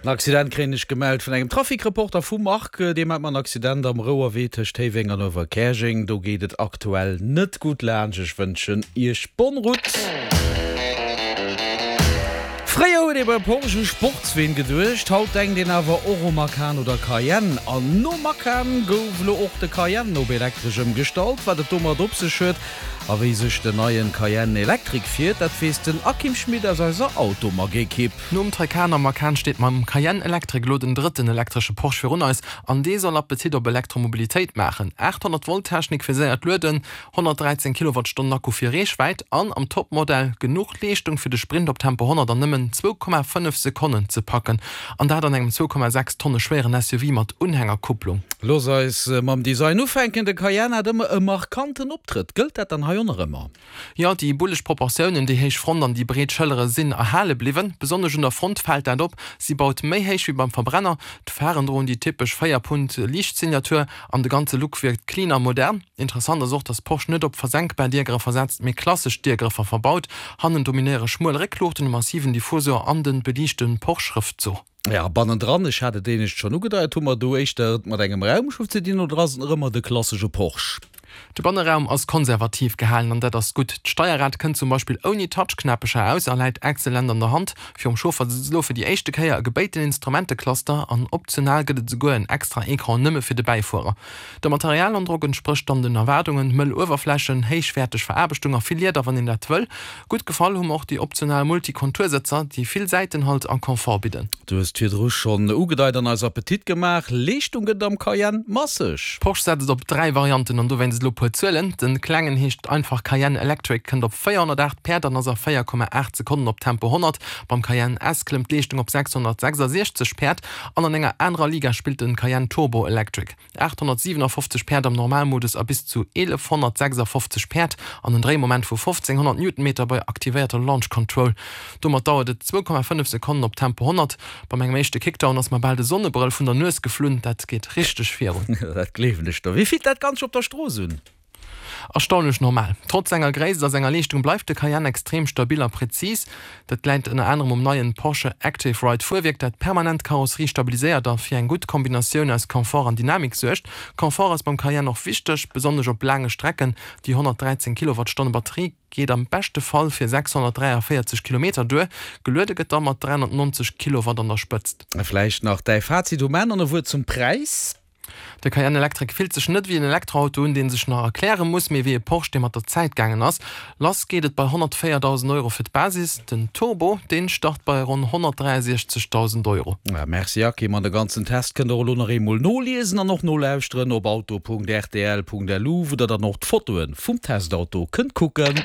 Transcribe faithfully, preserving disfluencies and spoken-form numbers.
En Accident kréien ech gemellt vun engem Trafic-Reporter vum Marc. Dee mellt mer en Accident am Rouerwee tëscht Héiweng an Uewerkäerjeng. Do geet et aktuell net gutt laanscht. Ech wënschen Iech bonne route. Fréier huet ee bei Porsche u Sportsween geduecht, haut denkt een awer och u Macan oder Cayenne. An nom Macan gouf elo och de Cayenne op elektresch ëmgestallt. Wat et domat op sech huet a wéi sech den neien Cayenne Electric fiert, dat weess den Akim Schmit aus eiser Automag-Ekipp. Nom Taycan a Macan steet mam Cayenne Electric elo den drëtten elektresche Porsche virun eis an dee soll Appetit op Elektromobilitéit maachen. achthonnert Volt Technik fir séiert Lueden, honnertdräizéng Kilowattstonnen Akku fir Reechwäit an am Topmodell genuch Leeschtung fir de Sprint op Tempo honnert an nëmmen zwou Komma fënnef Sekonnen ze packen an dat an engem zwou Komma sechs Tonne schwéieren S U V mat Unhängerkupplung. Looss eis mam Design ufänken, de Cayenne hat ëmmer e markanten Optrëtt. Gëllt dat dann hei och nach ëmmer? Jo, déi bulleg Proportiounen, déi héich Front an déi breet Schëllere sinn erhale bliwwen. Besonnesch un der Front fält dat op, si baut méi héich wéi beim Verbrenner. D'Pharen droen déi typesch Véier-Punt-Liichtsignatur an de ganze Look wierkt clean a modern. Interessant ass och, dass Porsche net op versenkbar Diergrëffer setzt, mee klassesch Diergrëffer verbaut. Hannen dominéiere schmuel Réckluuchten, e massiven Diffusor an de beliichte Porsche-Schrëftzuch. Jo, bannendran, ech hat et éinescht schonn ugedeit, hu mer do éischter et mat engem Raumschëff ze dinn oder ass et nach ëmmer de klassesche Porsche? De Banneraum ass konservativ gehalen an dat ass gutt. D'Steierrad kënnt zum Beispill ouni Touchknäppecher aus a läit exzellent an der Hand. Virum Chauffer sëtzt elo fir déi éischte Kéier e gebéiten Instrumentecluster an optional gëtt et esouguer en extra Ecran nëmme fir de Bäifuerer. De Materialandrock entsprécht dann den Erwaardungen, mëll Uewerflächen, héichwäerteg Veraarbechtung a vill Lieder, wann een dat wëll. Gutt gefall hu mer och déi optional Multikontursëtzer, déi vill Säitenhalt a Confort bidden. Du hues et virdru schonn ugedeit an eis Appetit gemaach, Leeschtung gëtt et am Cayenne masseg. Porsche setzt op dräi Varianten an dowéinst elo puer Zuelen, Den klengen heescht einfach Cayenne Electric, kënnt op véierhonnertaacht Päerd an ass a véier Komma aacht Sekonnen op Tempo honnert. Beim Cayenne S klëmmt d'Leeschtung op sechshonnertsechsasiechzeg Päerd an an enger anerer Liga spillt den Cayenne Turbo Electric. aathonnertsiwenafoffzeg Päerd am Normalmodus a bis zu eelefhonnertsechsafofzeg Päerd an en Dréimoment vu fofzénghonnert Newtonmeter bei aktivéierter Launch Control. Domat dauert et zwou Komma fënnef Sekonnen op Tempo honnert. Bei mengem éischte Kickdown ass mer bal de Sonnebrëll vun der Nues geflunn, dat geet richteg virun. Dat gleewen ech der. Wéi fillt dat Ganzt op der Strooss un? Erstaunlech normal. Trotz senger Gréisst a senger Leeschtung bleift de Cayenne extrem stabil a präzis. Dat läit ënner anerem um neien Porsche Active Ride Fuerwierk, dat permanent d'Karosserie stabiliséiert a fir eng gutt Kombinatioun aus Confort an Dynamik suergt. Confort ass beim Cayenne och wichteg, besonnesch op laange Strecken. Déi honnertdräizéng Kilowattstonne Batterie geet am beschte Fall fir sechshonnertdräiavéierzeg Kilometer duer. Geluede gëtt da mat dräihonnertnonzeg Kilowatt an der Spëtzt. Vläicht nach däi Fazit um Enn an e Wuert zum Präis? De Cayenne Electric fillt sech net wéi en Elektroauto un, dee sech nach erkläre muss, mee wéi e Porsche, dee mat der Zäit gaangen ass. Lass geet et bei honnertvéierdausend Euro fir d'Basis, den Turbo, dee start bei ronn honnertdräiasiechzegdausend Euro. Merci Akim, an de ganzen Test kënnt der och elo nach eemol noliesen an och nolauschteren op auto Punkt rtl Punkt lu, wou der dann och d'Fotoe vum Testauto kënnt kucken.